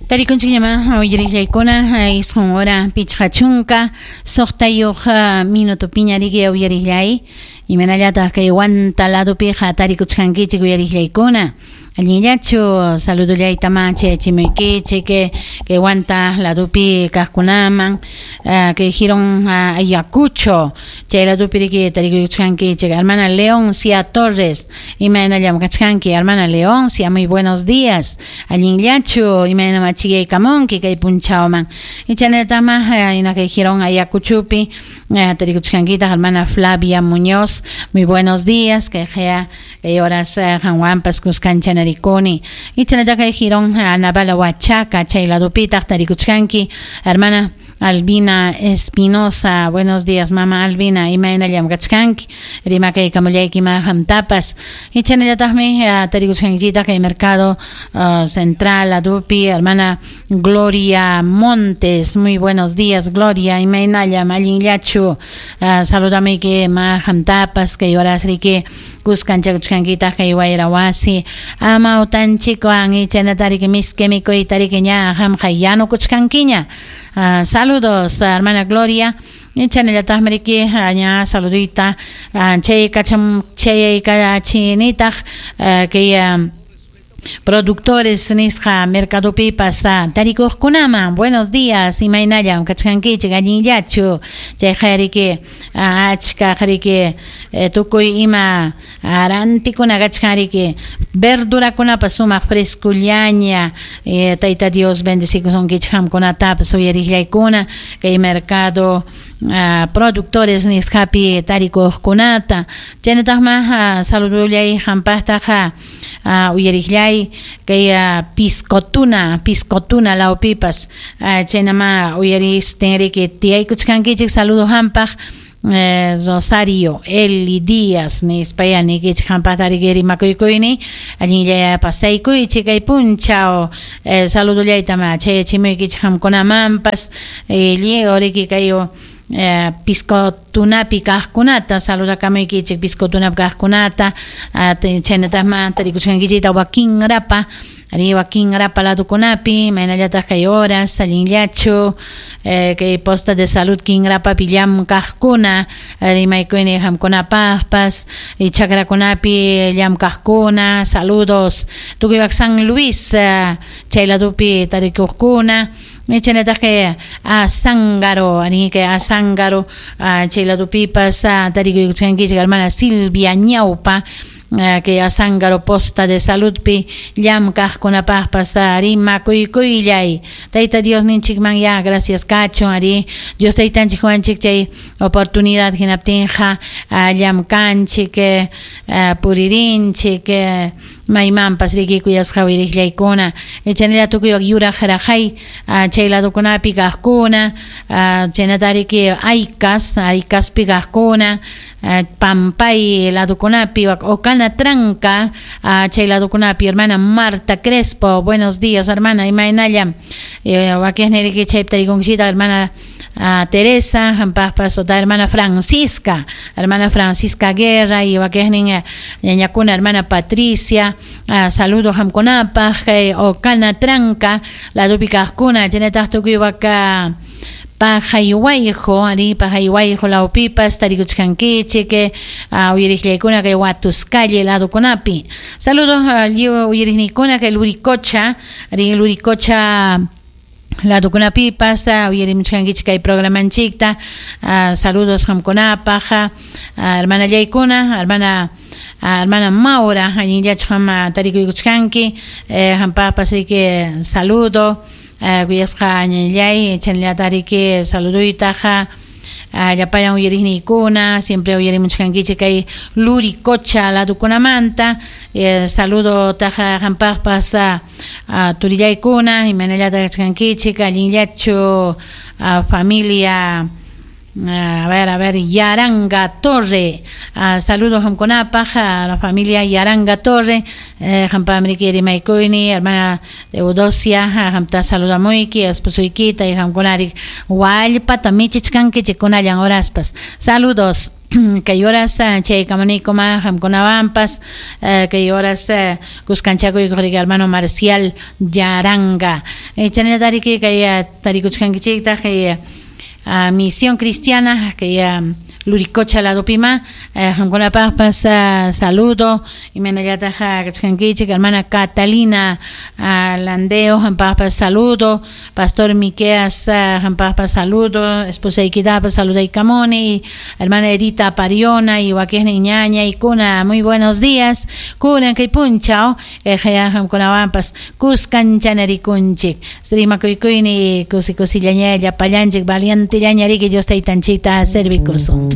Tarikunchikñamá uyariqllaykuna 9 hora 56 minutopiña riki uyariqllay, imanallataq kay Huanta ladopiqa tarikuchkankichik uyariqllaykuna? Allinllachu? Saludollaytamá chayachimuykichik kay Huanta ladopi kaqkunaman, kay Jirón Ayacucho chay ladopi riki tarikuchkankichik. Hermana Leoncia Torres, imaynallam kachkanki, hermana Leoncia? Muy buenos días. Allinllachu? Imaynam achikaykamunki kay punchawman? Ichanallataqma ina kay Jirón Ayacuchopi tarikuchkankitaq, hermana Flavia Muñoz, muy buenos días. Kay kay horas qanwanpas kuskanchanarikuni. Ichanallata kay Jirón Navala Huachaca chay ladopitaq tarikuchkanki, hermana Albina Espinosa, buenos días, mama Albina, imaynallam kachkanki? Rimakaykamullayki qamtapas. Ichanallataqmi tarikuchkankichitaq kay Mercado Central ladopi, hermana Gloria Montes, muy buenos días, Gloria, imaynallam, allinllachu? Saludamayki ma qamtapas kay horas riki kuskanchakuchkankitaq kay wayra wasi amawtanchikwan, ichanata riki miski mikuyta riki ña qamqa yanukuchkankiña. Saludos, hermana Gloria. Chanallataqmi riki ña saludita chay kacham chay kachinitaq kay productores nisqa mercadopipas tarikuqkunaman. Buenos días, imaynallam kachkankichik, allinllachu? Chayqa riki achka riki tukuy ima rantikuna kachkan riki, verdurakunapas sumaq frescullaña. Tayta Dios bendecikusunkichik qamkunatapas uyariqllaykuna kay mercado productores nisqapi tarikuqkunata. Chaynataqma saludollay qampaqtaqa uyariqllay kay Piscotuna lawpipas chaynama uyaristin riki tiyaykuchkankichik. Saludo qampaq, Rosario Eli Díaz nispaya nikichik qampaqta riki rimakuykuyni. Allinlla pasaykuychik kay punchaw. Saludollaytama chayachimuykichik qamkunamanpas. Lliw riki kay Piscotunapi kaqkunata saludakamuykichik, Piscotunapi kaqkunata. Chaynataqma tarikuchkankichikta wakinrapa ari wakinrapa ladukunapi, imaynallataq kay horas, allinllachu? Kay posta de salud kinrapapi llamkaqkuna, rimaykuyni qamkunapaqpas, chakrakunapi llamkaqkuna, saludos. Tukuy San Luis chay ladupi tarikuqkuna, chaynataq kay Azángaro, ari kay Azángaro chay ladupipas tarikuykuchkankichik, hermana Silvia Ñaupa, kay Azángaro posta de saludpi llamkaqkunapaqpas rimakuykuylay. Tayta Dios ninchikman ya gracias kachun, ari Dios taytanchik qowanchik chay oportunidad, hinaptinqa llamkanchik, puririnchik maymanpas riki kuyasqa uyariqllaykuna. Chaynalla tukuy yuraq raqay chay ladukunapi kaqkuna, chaynata riki Aycas, Aycaspi kaqkuna, Pampay ladukunapi, Ocana Tranca chay ladukunapi, hermana Marta Crespo, buenos días, hermana, imaynalla? Wakiqni riki chaypi tarikunkichita, hermana Teresa, qampaqpas, ota hermana Francisca, hermana Francisca Guerra y wakiqnin ñañakuna, hermana Patricia, saludos qamkunapaq Ocana Tranca ladupi kaqkuna, chaynataq tukuy waka Pajayhuayjo, ari Pajayhuayjo lawpipas tarikuchkankichik uyariqllaykuna kay Huatuscalle ladukunapi. Saludos lliw uyariqniykuna kay Luricocha, ari Luricocha ladukunapipas uyarimuchkankichik kay programanchikta. Saludos qamkunapaq, hermanallaykuna, hermana Maura, allinllachu qam tarikuykuchkanki? Qampaqpas riki saludo, kuyasqa ñañallay, chaynallata riki saluduytaqa llapallan uyariqniykuna, siempre uyarimuchkankichik kay Luricocha ladukunamanta. Saludo taqa qampaqpas, turillaykuna, imaynallata kachkankichik, allinllachu, familia? A ver, a ver, Yaranga Torre. Saludos qamkunapaq, a la familia Yaranga Torre. Qampaqmi rimaykuyni, hermana Eudosia, qamta saludamuyki, esposuykita y qamkunari wallpata michichkankichik kunallan horaspas. Saludos. Kay horas chay kamunikuma qamkunawanpas kay horas kuskanchakuykuq riki hermano Marcial Yaranga. Chaynallataq riki kay tarikuchkankichiktaq kay Misión Cristiana kay Luricocha ladopima qamkunapaqpas saludo imaynallataq kachkankichik hermana Catalina Landeo qampaqpas saludo Pastor Miqueas qampaqpas saludo esposaykitapas saludaykamuni hermana Edita Pariona y wakiqnin ñañaykuna muy buenos días kunan kay punchaw qamkunawanpas kuskanchanarikunchik rimakuykuyni kusi kusillaña llapallanchik valientellaña riki Dios taytanchikta servikusun.